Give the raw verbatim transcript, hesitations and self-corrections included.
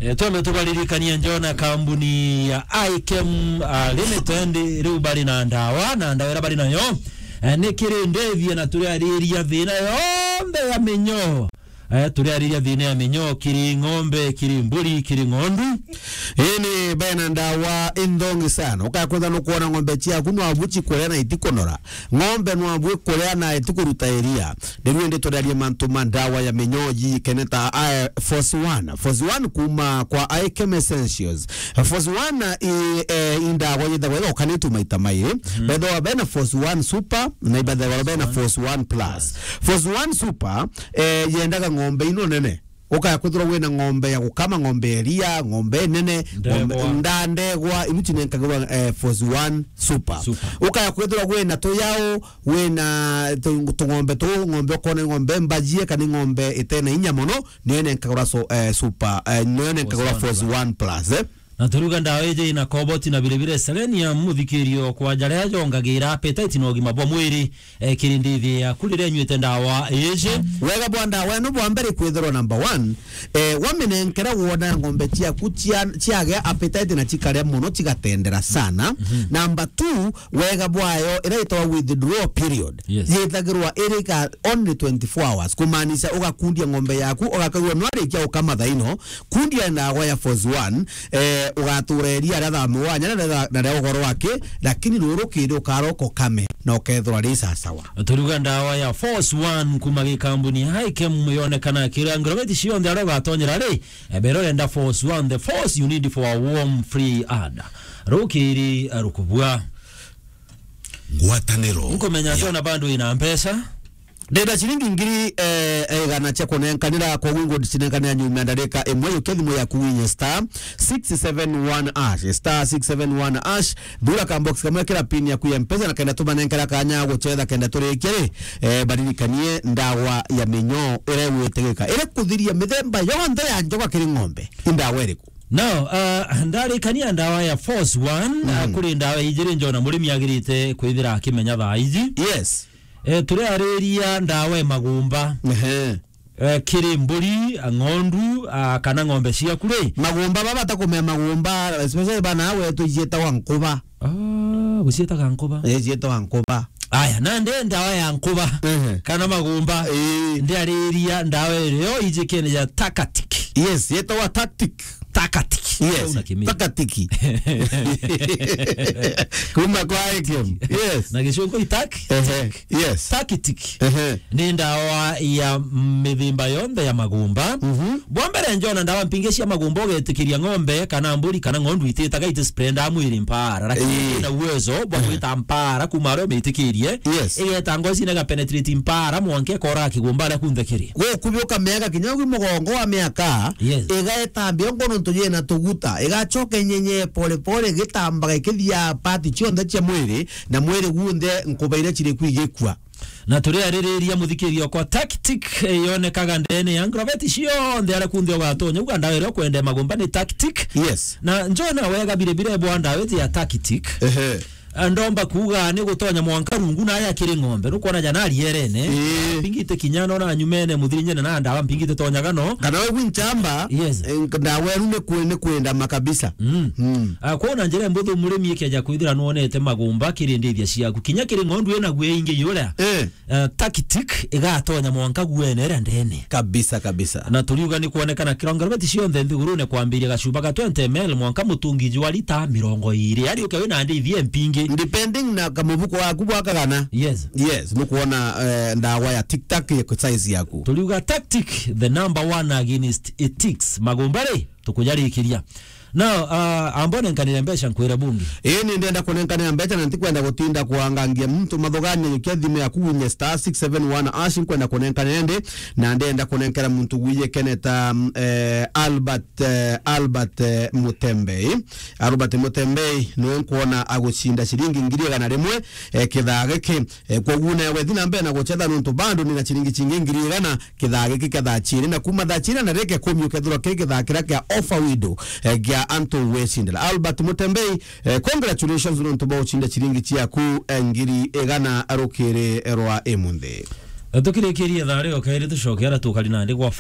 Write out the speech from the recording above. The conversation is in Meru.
Eh, twambe tubaririkanie njona kambuni ya Ichem, ah, Limited, riu bari na ndawa, na ndawa iria bari nayo, eh, ni kiri ndithia na turiariria thina yonthe ya minyoo. Eh, turiariria thina ya minyoo kiri ng'ombe, kiri mburi, kiri ng'ondu. Ini bena ndawa inthongi sana. Ukakwenda nukwona ng'ombe ciaku nwabu cikuria na itikunora. Ng'ombe nwabu ikuria na itikuruta iria. Riu indi turiarie mantu ma ndawa ya minyoo ji keneta, ah, Force One. Force One kuma kwa Ichem Essentials. Force One i, eh, i ndawa yithagwa ithokanitue maita mairi. Bethagwa bena Force One Super na ibethagwa bena Force One Plus. Force One Super, eh, yendaga ng'ombe ino nene. Ukaya kwithirwa wina ng'ombe ya gukama, ng'ombe ya iria, ng'ombe nene, ng'ombe, ndegwa, nda-, ndegwa, ibu cinenkagirwa, eh, Force One Super. Super. Ukaya kwithirwa wina tuyau, wina tu-, tung'ombe tu, ng'ombe ukona ng'ombe mbajie kana ng'ombe itena inya mono, niyo nenkagirwa so-, eh, Super, eh, niyo nenkagirwa Force One Plus, eh. Na turiuga ndawa iji ina cobalt na vilevile selenium, muthikirio kwa jaria jongagira appetite na ugima bwa mwiri, eh, kiri ndithi yaku riria inyuite ndawa iji. Wega bwa ndawa ino bwa mbere kwithirwa number one, eh, waminenkera wona ng'ombe ciaku cia-, ciagea appetite na cikaria mono, cigatendera sana. Number two, wega bwayo iria itagwa withdrawal period. Yes. Yithagirwa iri ka only twenty-four hours, kumaanisha ugakundia ng'ombe yaku, ugakagua nwarikia ukama thaino, kundia ndawa ya Force One, eh, ugatura iria ria thaa mugwanja na ria, na ria ugoro wake, lakini ruru kiri ukaroka ukame na ukethirwa ri sasawa. Turiuga ndawa ya Force One kuma gikambuni ya Ichem yonekana kira ngirobeti cionthe aria ugatonyera ri, eh, mbere urenda Force One, the force you need for a warm free ad. Rukiri, eh, rukubua. Ngwataniro. Nkumenya ya tona bado ina mbeca. Ndenda ciringi ngiri, eh, eh, igana cia kunenkanira, koguo ingo ndicinenkanira nyuma ya ndarika imwe, yukia thimu yaku winye star six seven one hash, star six seven one hash, thura ka box kamwe, kira pin yaku ya Mpesa, na kenda tumanenkera kanya gucetha kenda turikie ri, eh, baririkanie ndawa ya minyoo iria igwitigika, iria kuthiria mithemba yonthe ya njoka kiri ng'ombe. I ndawa iriku? Now, uh, ndarikania ndawa ya Force One, uh, kuri ndawa ijiri njona murimi agirite kwithira akimenya thaa iji. Yes. Eh, turiariria ndawa ya magumba. Ehe. Eh, kiri mburi, ng'ondu, ah, kana ng'ombe ciaku ri? Magumba baba takumea magumba, especially bana wetu cietagwa nkuba. Ah, gucietaga nkuba? Eh, cietagwa nkuba. Aya, nandi ndawa ya nkuba, ehe, kana magumba. Eh. Ndiariria ndawa irio ijikene ya Tactic. Yes, yetagwa Tactic. Tactic. Yes, una kimini. Tactic. Kuma kwa Ichem. Yes. Na gicungu itak? Ehe. Yes. Tactic. Ehe. Ni ndawa ya mithimba yonthe ya magumba. Mhm. Bwa mbere njona ndawa mpingi cia magumba ugetikiria ng'ombe kana mburi kana ng'ondu ititaga, iti spray ndawa mwiri mpara. Lakini, eh, ina uwezo bwa, ehe, gwita mpara kuma aria umitikirie. Yes. Igeta ngoci na igapenetrate mpara mwanka ikora kigumba aria kunthe kiri. Gukubi ukamega kinya ugwi mugongo wa miaka. Yes. Igaetambia ngo nontu yina tuguta. Igacoka inyenye pole pole igitambaga ikithia part cionthe cia mwiri na mwiri gunthe nkuba iria ciri ku igikua. Na turiaririria muthikiria okwa Tactic, eh, yonekaga ndene ya ngroveti cionthe aria kunthe ugatonya. Uga ndawa iria ukwenda magumba ni Tactic. Yes. Na njona wega bire bire bwa ndawa iji ya Tactic. Ehe. Ah, ndomba kuuga ni gutonya mwanka rungu na aya kiri ng'ombe. Nukwona jana arierene. Ii. Mpingite kinya no na nyumene muthirinyene na ndawa mpingite tonyaga no. Kana we gwinchamba, yes, eh, ndawa enu ni kwe-, ni kwenda makabisa. Mm. Mm. Ah, kwa na njira mbuthu murimi ikeja kwithira nuonete magumba kiri ndithia ciaku. Kinya kiri ng'ondu ina gwe ingi yuria. Eh. Eh, Tactic igatonya mwanka gwene iria ndene. Kabisa, kabisa. Na turiuga ni kuonekana kirongo beti cionthe nthigurune kwambiria gacuba ga twenty M L mwanka mutungi jwa lita mirongo iri. Ari uke wina ndithi mpingi. Depending na kamubuko waku bwa kagana. Yes. Yes, nukwona, eh, ndawa ya Tic Tac ya size yaku. Turiuga Tactic, the number one against ethics. Magumba ri, tukujarikiria. Now, uh, ambone nkanire mbeca nkwire bungi. Ii, ni ndenda kunenkanira mbeca na ntikwenda gutinda kuangangia muntu mathugania, yukia thimu yaku winye star six seven one hash, nkwenda kunenkanira ndi, na ndenda kunenkera muntu gwiye keneta, mm, eh, Albert, eh, Albert, eh, Mutembei. Albert Mutembei niwe nkwona agucinda ciringi ngiri igana rimwe, eh, kithaa giki. Eh, koguo nawe thi na mbere na gucetha nontu bado ni na ciringi cingi ngiri igana kithaa giki kia thaa ciiri, na kuma thaa ciiri na ndagika ikumi ukethirwa kiri kithaa kiria kia offer window, eh, gia antu gwicindira. Albert Mutembei, eh, congratulations nontu bwa gucinda ciringi ciaku, eh, ngiri igana rukiri rwa imunthi. Eh, tukirikirie thaa rio kairi tucoke ara tukari nandi gwa